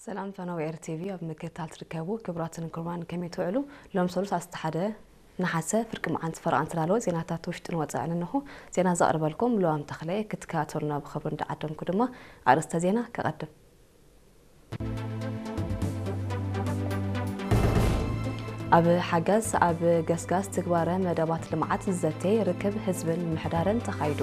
ሰላም ፈነው ኤር ቲቪ ኣብ ምክትታል ትርከቡ ክቡራትን ክቡራን፣ ከመይ ትውዕሉ? ሎም ሰሉስ ኣስተ ሓደ ነሓሰ ፍርቂ መዓልቲ ፈረቓ እንትላልወ ዜናታት ውሽጥን ወጻእን እንሆ። ዜና ዘቕርበልኩም ሉዋም ተኽለ፣ ክትከታተሉና ብኽብሪ እንዳዓደምኩ ድማ ኣርእስተ ዜና ከቐድም። ኣብ ሓጋዝ ኣብ ገስጋስ ትግባረ መደባት ልምዓት ዝዘተይ ርክብ ህዝብን ምምሕዳርን ተኻይዱ።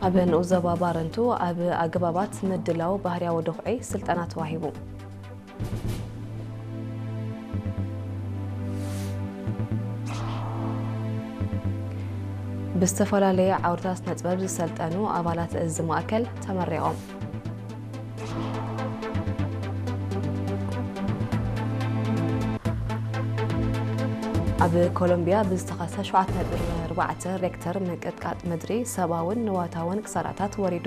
ኣብ ንኡስ ዞባ ባረንቱ ኣብ ኣገባባት ምድላው ባህርያዊ ድኹዒ ስልጠና ተዋሂቡ። ብዝተፈላለየ ዓውድታት ስነ ጥበብ ዝሰልጠኑ ኣባላት እዚ ማእከል ተመሪቖም። ኣብ ኮሎምቢያ ብዝተኸስተ ሸውዓተ ነጥቢ ኣርባዕተ ሬክተር ምንቅጥቃጥ ምድሪ ሰብኣውን ንዋታውን ክሳራታት ወሪዱ።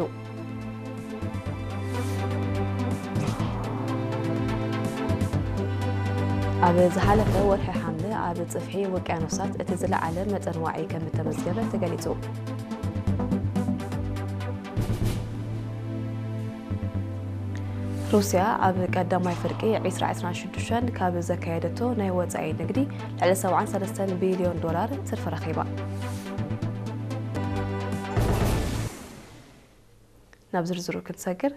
ኣብ ዝሓለፈ ወርሒ ሓምለ ኣብ ጽፍሒ ውቅያኖሳት እቲ ዝለዓለ መጠን ዋዒ ከም እተመዝገበ ተገሊጹ። ሩስያ ኣብ ቀዳማይ ፍርቂ ዕስራ ዕስራን ሽዱሽተን ካብ ዘካየደቶ ናይ ወጻኢ ንግዲ ልዕሊ ሰብዓን ሰለስተን ቢልዮን ዶላር ትርፊ ረኺባ። ናብ ዝርዝሩ ክንሰግር፣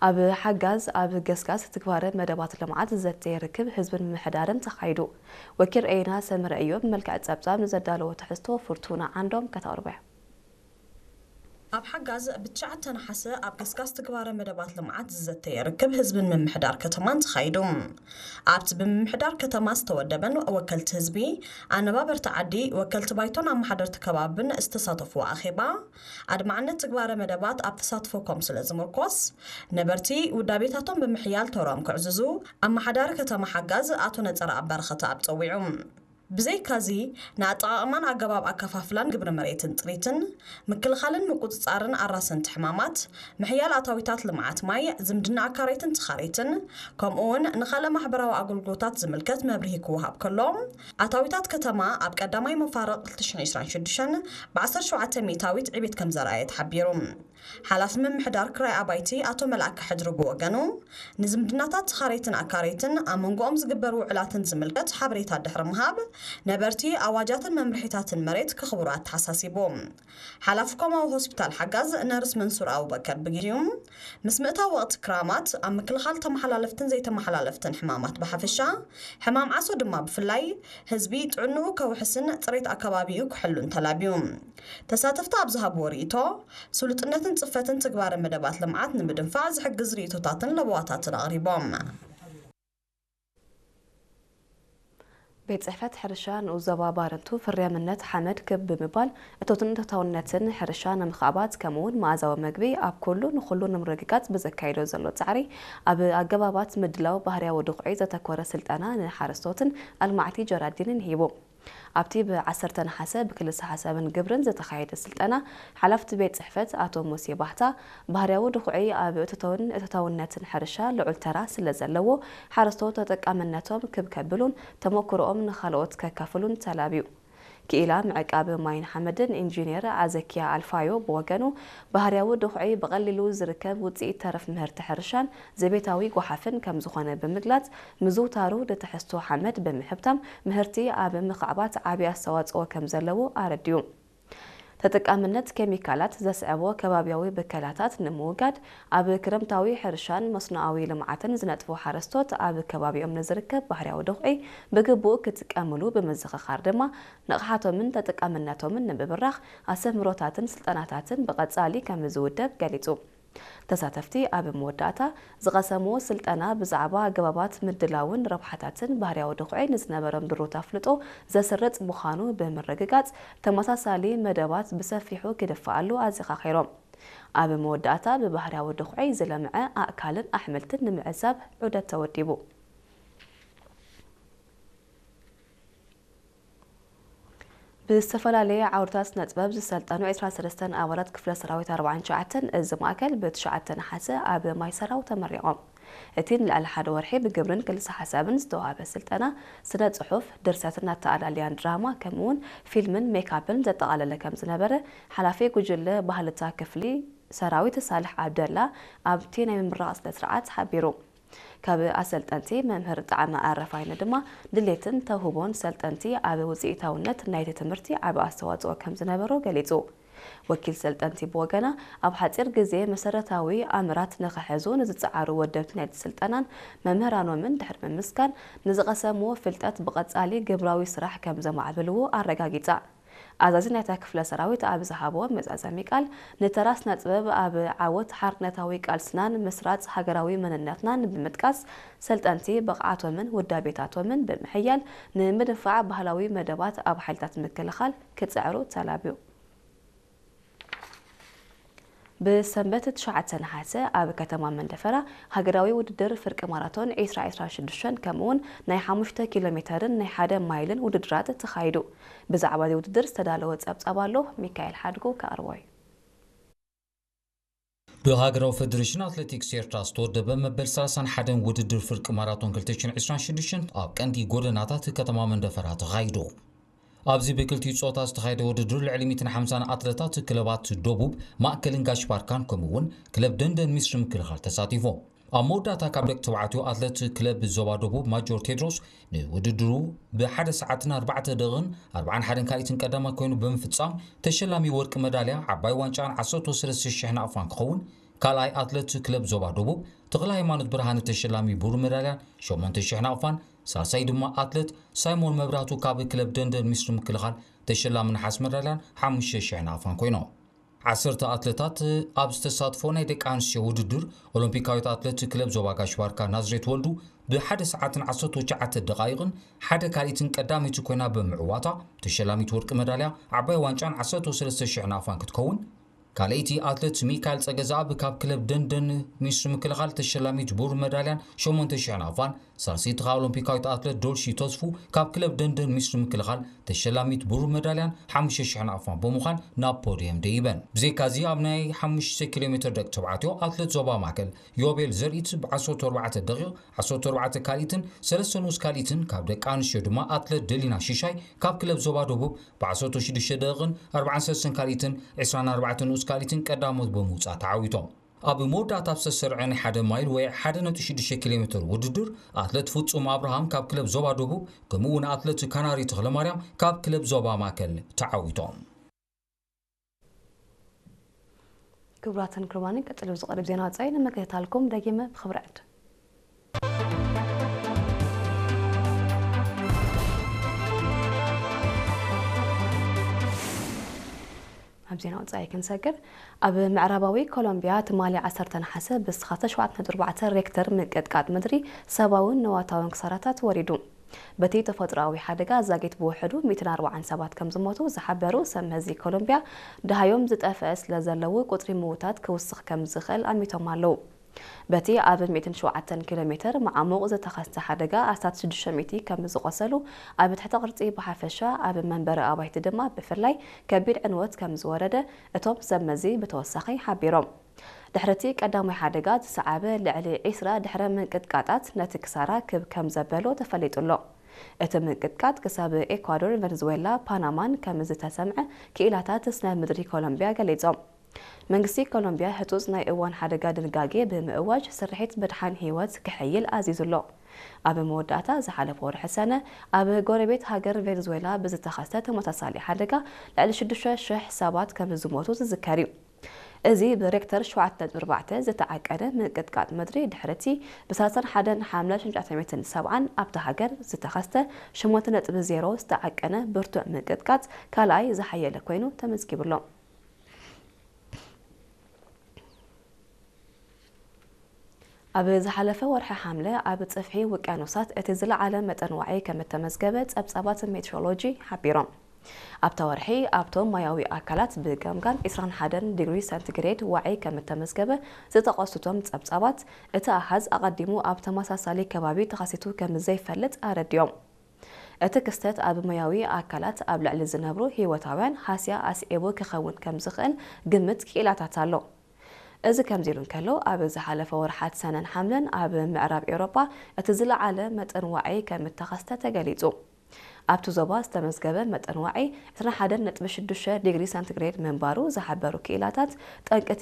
ኣብ ሓጋዝ ኣብ ገስጋስ ትግባረ መደባት ልምዓት ዘተ ርክብ ህዝብን ምምሕዳርን ተኻይዱ። ወኪል ኤና ሰምረ እዮብ መልክዕ ጸብጻብ ንዘዳለዎ ትሕዝቶ ፍርቱና ዓንዶም ከተቕርቦ እያ። ኣብ ሓጋዝ ብትሽዓተ ነሓሰ ኣብ ገስጋስ ትግባረ መደባት ልምዓት ዝዘተየ ርክብ ህዝብን ምምሕዳር ከተማን ተኻይዱ። ኣብቲ ብምምሕዳር ከተማ ዝተወደበን ወከልቲ ህዝቢ፣ ኣነባበርቲ ዓዲ፣ ወከልቲ ባይቶን ኣመሓደርቲ ከባብን ዝተሳተፍዎ ኣኼባ፣ ኣድማዕነት ትግባረ መደባት ኣብ ተሳትፎ ኮም ስለ ዝምርኮስ፣ ነበርቲ ውዳቤታቶም ብምሕያል ተሮም ክዕዝዙ ኣመሓዳሪ ከተማ ሓጋዝ ኣቶ ነጸረኣብ በረኸተኣብ ጸዊዑ። ብዘይካዚ፣ ንኣጠቓቕማን ኣገባብ ኣከፋፍላን ግብሪ መሬትን ጥሪትን፣ ምክልኻልን ምቁጽጻርን ኣራሰንቲ ሕማማት፣ ምሕያል ኣታዊታት ልምዓት ማይ፣ ዝምድና ኣካረይትን ተኻረይትን፣ ከምኡ እውን ንኻልእ ማሕበራዊ ኣገልግሎታት ዝምልከት መብርሂ ክወሃብ ከሎ፣ ኣታዊታት ከተማ ኣብ ቀዳማይ መፋርቕ ክልተ ሽሕን ዕስራን ሽዱሽተን ብ ዓሰርተ ሸውዓተ ሚእታዊት ዕቤት ከም ዘርኣየ ተሓቢሩ። ሓላፊ ምምሕዳር ክራይ ኣባይቲ ኣቶ መልኣከ ሕድሪ ብወገኑ፣ ንዝምድናታት ተኻረይትን ኣካረይትን ኣብ መንጎኦም ዝግበር ውዕላትን ዝምልከት ሓበሬታ ድሕሪ ምሃብ፣ ነበርቲ ኣዋጃትን መምርሒታትን መሬት ከኽብሩ ኣተሓሳሲቡ። ሓላፊ ኮማዊ ሆስፒታል ሓጋዝ ነርስ መንሱር ኣቡበከር ብግዜኡ፣ ምስ ምእታው ወቕቲ ክራማት ኣብ ምክልኻል ተመሓላለፍትን ዘይተመሓላለፍትን ሕማማት ብሓፈሻ፣ ሕማም ዓሶ ድማ ብፍላይ፣ ህዝቢ ጥዕንኡ ከውሕስን ጽሬት ኣከባቢኡ ክሕሉን ተላብዩ። ተሳተፍቲ ኣብ ዝሃብዎ ርእይቶ፣ ስሉጥነትን ጽፈትን ትግባረ መደባት ልምዓት ንምድንፋዕ ዝሕግዝ ርእይቶታትን ለበዋታትን ኣቕሪቦም። ቤት ጽሕፈት ሕርሻ ንኡስ ዞባ ባረንቱ ፍርያምነት ሓመድ ክብ ብምባል እቶትን እቶታውነትን ሕርሻ ንምኽዕባት ከምኡውን መኣዛዊ መግቢ ኣብ ኩሉ ንኹሉ ንምርግጋጽ ብዘካይዶ ዘሎ ጻዕሪ ኣብ ኣገባባት ምድላው ባህርያዊ ድኹዒ ዘተኮረ ስልጠና ንሓረስቶትን ኣልማዕቲ ጀራዲንን ሂቡ። ኣብቲ ብ ዓሰርተ ነሓሰ ብክልሰ ሓሳብን ግብርን ዝተኻየደ ስልጠና፣ ሓላፍቲ ቤት ጽሕፈት ኣቶ ሙሴ ባህታ፣ ባህርያዊ ድኹዒ ኣብ እቶቶን እቶታውነትን ሕርሻ ልዑል ተራ ስለ ዘለዎ፣ ሓረስቶት ተጠቃምነቶም ክብ ከብሉን ተመኩሮኦም ንኻልኦት ከካፍሉን ተላብዩ። ክኢላ ምዕቃብ ማይን ሓመድን ኢንጂነር ኣዘኪያ ኣልፋዮ ብወገኑ፣ ባህርያዊ ድኹዒ ብቐሊሉ ዝርከብ ውጽኢት ተረፍ ምህርቲ ሕርሻን ዘቤታዊ ጓሓፍን ከም ዝኾነ ብምግላጽ፣ ምዝውታሩ ንትሕዝቶ ሓመድ ብምሕብታም ምህርቲ ኣብ ምኽዕባት ዓቢ ኣስተዋጽኦ ከም ዘለዎ ኣረዲኡ። ተጠቃምነት ኬሚካላት ዘስዕቦ ከባብያዊ ብከላታት ንምውጋድ፣ ኣብ ክረምታዊ ሕርሻን መስኖኣዊ ልምዓትን ዝነጥፉ ሓረስቶት ኣብ ከባቢኦም ንዝርከብ ባህርያዊ ድኹዒ ብግቡእ ክጥቀምሉ ብምዝኽኻር ድማ፣ ንቕሓቶምን ተጠቃምነቶምን ንምብራኽ ኣስተምህሮታትን ስልጠናታትን ብቐጻሊ ከም ዝውደብ ገሊጹ። ተሳተፍቲ ኣብ መወዳእታ ዝቐሰምዎ ስልጠና ብዛዕባ ኣገባባት ምድላውን ረብሓታትን ባህርያዊ ድኹዒ ንዝነበሮም ድሩት ኣፍልጦ ዘስርጽ ምዃኑ ብምርግጋጽ፣ ተመሳሳሊ መደባት ብሰፊሑ ክድፈኣሉ ኣዘኻኺሮም። ኣብ መወዳእታ ብባህርያዊ ድኹዒ ዝለምዐ ኣእካልን ኣሕምልትን ንምዕዛብ ዑደት ተወዲቡ። ብዝተፈላለየ ዓውድታት ስነ ጥበብ ዝሰልጠኑ ዕስራን ሰለስተን ኣባላት ክፍለ ሰራዊት ኣርባዓን ትሽዓተን እዚ ማእከል ብትሽዓተ ነሓሰ ኣብ ማይ ሰራው ተመሪቖም። እቲ ንልዕሊ ሓደ ወርሒ ብግብርን ክልሰ ሓሳብን ዝተዋህበ ስልጠና፣ ስነ ጽሑፍ፣ ድርሰትን ኣተኣላልያን ድራማ፣ ከምኡውን ፊልምን ሜካፕን ዘጠቓለለ ከም ዝነበረ፣ ሓላፊ ጉጅለ ባህልታ ክፍሊ ሰራዊት ሳልሕ ዓብደላ ኣብቲ ናይ ምምራቕ ስነ ስርዓት ሓቢሩ። ካብ ኣሰልጠንቲ መምህር ጣዕመ ኣረፋይነ ድማ ድሌትን ተውህቦን ሰልጠንቲ ኣብ ውፅኢታውነት ናይቲ ትምህርቲ ዓቢ ኣስተዋፅኦ ከም ዝነበሮ ገሊፁ። ወኪል ሰልጠንቲ ብወገና፣ ኣብ ሓፂር ግዜ መሰረታዊ ኣምራት ንኽሕዙ ንዝፀዓሩ ወደብቲ ናይቲ ስልጠናን መምህራኖምን ድሕሪ ምምስጋን፣ ንዝቐሰምዎ ፍልጠት ብቐፃሊ ግብራዊ ስራሕ ከም ዘማዕብልዎ ኣረጋጊፃ። ኣዛዚ ናይታ ክፍለ ሰራዊት ኣብ ዝሃቦ መዛዘሚ ቃል፣ ንተራ ስነ ጥበብ ኣብ ዓወት ሓርነታዊ ቃልስናን ምስራጽ ሃገራዊ መንነትናን ብምጥቃስ፣ ሰልጠንቲ ብቕዓቶምን ውዳቤታቶምን ብምሕያል ንምድንፋዕ ባህላዊ መደባት ኣብ ሓይልታት ምክልኻል ክጽዕሩ ተላብዩ። ብሰንበት ትሽዓተ ነሓሰ ኣብ ከተማ መንደፈራ ሃገራዊ ውድድር ፍርቂ ማራቶን ዒስራ ዒስራ ሽዱሽተን ከምኡውን ናይ ሓሙሽተ ኪሎ ሜተርን ናይ ሓደ ማይልን ውድድራት ተኻይዱ። ብዛዕባ እዚ ውድድር ዝተዳለወ ጸብጻብ ኣሎ፣ ሚካኤል ሓድጉ ከቕርቦ እዩ። ብሃገራዊ ፈደሬሽን ኣትሌቲክስ ኤርትራ ዝተወደበ መበል ሰላሳን ሓደን ውድድር ፍርቂ ማራቶን ክልተ ሽሕን ዕስራን ሽዱሽተን ኣብ ቀንዲ ጎደናታት ከተማ መንደፈራ ተኻይዱ። ኣብዚ ብክልቲኡ ጾታ ዝተኻየደ ውድድር ልዕሊ ሚእትን ሓምሳን ኣትለታት ክለባት ደቡብ፣ ማእከልን ጋሽ ባርካን ከምኡ እውን ክለብ ደንደን ሚስሪ ምክልኻል ተሳቲፎም። ኣብ መወዳእታ ካብ ደቂ ተባዕትዮ ኣትለት ክለብ ዞባ ደቡብ ማጆር ቴድሮስ ንውድድሩ ብሓደ ሰዓትን ኣርባዕተ ደቂቕን ኣርባዓን ሓደን ካልኢትን ቀዳማይ ኮይኑ ብምፍጻም ተሸላሚ ወርቂ መዳልያ ዓባይ ዋንጫን ዓሰርተ ሰለስተ ሽሕ ናቕፋን ክኸውን፣ ካልኣይ ኣትለት ክለብ ዞባ ደቡብ ተኽለ ሃይማኖት ብርሃነ ተሸላሚ ብሩር መዳልያን ሸሞንተ ሽሕ ናቕፋን፣ ሳልሳይ ድማ ኣትለት ሳይሞን መብራህቱ ካብ ክለብ ደንደን ሚስሪ ምክልኻል ተሸላሚ ነሓስ መዳልያን ሓሙሽተ ሽሕ ናቕፋን ኮይኖም። ዓሰርተ ኣትለታት ኣብ ዝተሳትፎ ናይ ደቂ ኣንስትዮ ውድድር፣ ኦሎምፒካዊት ኣትለት ክለብ ዞባ ጋሽ ባርካ ናዝሬት ወልዱ ብሓደ ሰዓትን ዓሰርተ ትሽዓተ ደቓይቕን ሓደ ካልኢትን ቀዳመይቲ ኮይና ብምዕዋታ፣ ተሸላሚት ወርቂ መዳልያ ዓባይ ዋንጫን ዓሰርተ ሰለስተ ሽሕ ናቕፋን ክትከውን፣ ካልኣይቲ ኣትለት ሚካኤል ጸገዛኣብ ካብ ክለብ ደንደን ሚኒስትሪ ምክልኻል ተሸላሚት ብሩር መዳልያን ሸሞንተ ሽሕ ናቕፋን፣ ሳልሰይቲ ከኣ ኦሎምፒካዊት ኣትለት ዶልሺ ተስፉ ካብ ክለብ ደንደን ሚኒስትሪ ምክልኻል ተሸላሚት ብሩር መዳልያን ሓሙሽተ ሽሕ ናቕፋን ብምዃን ናብ ፖድየም ደይበን። ብዘይካዚ ኣብ ናይ ሓሙሽተ ኪሎ ሜትር ደቂ ተባዕትዮ ኣትለት ዞባ ማእከል ዮቤል ዘርኢት ብዓሰርተ ኣርባዕተ ደቂቕ ዓሰርተ ኣርባዕተ ካልኢትን ሰለስተ ንኡስ ካልኢትን፣ ካብ ደቂ ኣንስትዮ ድማ ኣትለት ደሊና ሽሻይ ካብ ክለብ ዞባ ደቡብ ብዓሰርተ ሽዱሽተ ደቂቕን ኣርባዓን ሰለስተን ካልኢትን ዕስራን ኣርባዕተን ንኡስ ካልኢትን ቀዳሞት ብምውጻእ ተዓዊቶም። ኣብ መወዳእታ ኣብ ዝተሰርዐ ናይ ሓደ ማይል ወይ ሓደ ነጥቢ ሽዱሽተ ኪሎ ሜትር ውድድር፣ ኣትለት ፍጹም ኣብርሃም ካብ ክለብ ዞባ ደቡብ፣ ከምኡ እውን ኣትለት ካናሪ ተኽለማርያም ካብ ክለብ ዞባ ማእከል ተዓዊቶም። ክቡራትን ክቡራንን፣ ቀጺሉ ዝቐርብ ዜና ወጻኢ ንምክትታልኩም ደጊመ ብኽብሪ ዕድ። ኣብ ዜና ወጻኢ ክንሰግር፣ ኣብ ምዕራባዊ ኮሎምቢያ ትማሊ ዓሰርተ ነሓሰ ብዝተኸስተ ሸውዓተ ነጥቢ ኣርባዕተ ሬክተር ምንቅጥቃጥ ምድሪ ሰብኣውን ንዋታውን ክሳራታት ወሪዱ። በቲ ተፈጥሮኣዊ ሓደጋ ዛጊት ብውሕዱ ሚእትን ኣርባዓን ሰባት ከም ዝሞቱ ዝሓበሩ ሰብ መዚ ኮሎምቢያ፣ ደሃዮም ዝጠፍአ ስለ ዘለዉ ቁጽሪ ምዉታት ክውስኽ ከም ዝኽእል ኣሚቶም ኣለዉ። በቲ ኣብ ሚእትን ሸውዓተን ኪሎ ሜትር መዓሙቕ ዝተኸስተ ሓደጋ ኣስታት ሽዱሽተ ሚእቲ ከም ዝቖሰሉ፣ ኣብ ትሕተ ቅርጺ ብሓፈሻ፣ ኣብ መንበሪ ኣባይቲ ድማ ብፍላይ ከቢድ ዕንወት ከም ዝወረደ እቶም ሰብ መዚ ብተወሳኺ ሓቢሮም። ድሕሪ እቲ ቀዳማይ ሓደጋ ዝሰዓበ ልዕሊ ዒስራ ድሕረ ምንቅጥቃጣት ነቲ ክሳራ ክብ ከም ዘበሎ ተፈሊጡ ኣሎ። እቲ ምንቅጥቃጥ ክሳብ ኤኳዶር፣ ቨንዙዌላ፣ ፓናማን ከም ዝተሰምዐ ክኢላታት ስነ ምድሪ ኮሎምቢያ ገሊጾም። መንግስቲ ኮሎምቢያ ህጹጽ ናይ እዋን ሓደጋ ድንጋጌ ብምእዋጅ ስርሒት ምድሓን ህይወት ክሕይል ኣዚዙ ኣሎ። ኣብ መወዳእታ ዝሓለፈ ወርሒ ሰነ ኣብ ጎረቤት ሃገር ቬንዙዌላ ብዝተኸስተ ተመሳሳሊ ሓደጋ ልዕሊ ሽዱሽተ ሽሕ ሰባት ከም ዝሞቱ ዝዝከር እዩ። እዚ ብሬክተር ሸውዓተ ነጥቢ ኣርባዕተ ዝተዓቀነ ምንቅጥቃጥ ምድሪ ድሕሪ እቲ ብ ሰላሳን ሓደን ሓምለ ሽሕን ትሽዓተ ሚእትን ሰብዓን ኣብታ ሃገር ዝተኸስተ ሸሞንተ ነጥቢ ዜሮ ዝተዓቀነ ብርቱዕ ምንቅጥቃጥ ካልኣይ ዝሓየለ ኮይኑ ተመዝጊቡ ኣሎ። ኣብ ዝሓለፈ ወርሒ ሓምለ ኣብ ጽፍሒ ውቅያኖሳት እቲ ዝለዓለ መጠን ዋዒ ከም እተመዝገበ ጸብጻባት ሜትሮሎጂ ሓቢሮም። ኣብታ ወርሒ ኣብቶም ማያዊ ኣካላት ብገምጋም ዒስራን ሓደን ዲግሪ ሰንቲግሬድ ዋዒ ከም እተመዝገበ ዝጠቐሱቶም ጸብጻባት፣ እቲ ኣሃዝ ኣቐዲሙ ኣብ ተመሳሳሊ ከባቢ ተኸሲቱ ከም ዘይፈልጥ ኣረዲኦም። እቲ ክስተት ኣብ ማያዊ ኣካላት ኣብ ልዕሊ ዝነብሩ ህይወታውያን ሃስያ ኣስዒቡ ክኸውን ከም ዝኽእል ግምት ክኢላታት ኣሎ። እዚ ከምዚ ኢሉ እንከሎ፣ ኣብ ዝሓለፈ ወርሓት ሰነን ሓምለን ኣብ ምዕራብ ኤውሮጳ እቲ ዝለዓለ መጠን ዋዒ ከም እተኸስተ ተገሊጹ። ኣብቲ ዞባ ዝተመዝገበ መጠን ዋዒ ዕስራን ሓደን ነጥቢ ሽዱሽተ ዲግሪ ሰንቲግሬድ ምንባሩ ዝሓበሩ ክኢላታት፣ ጠንቂ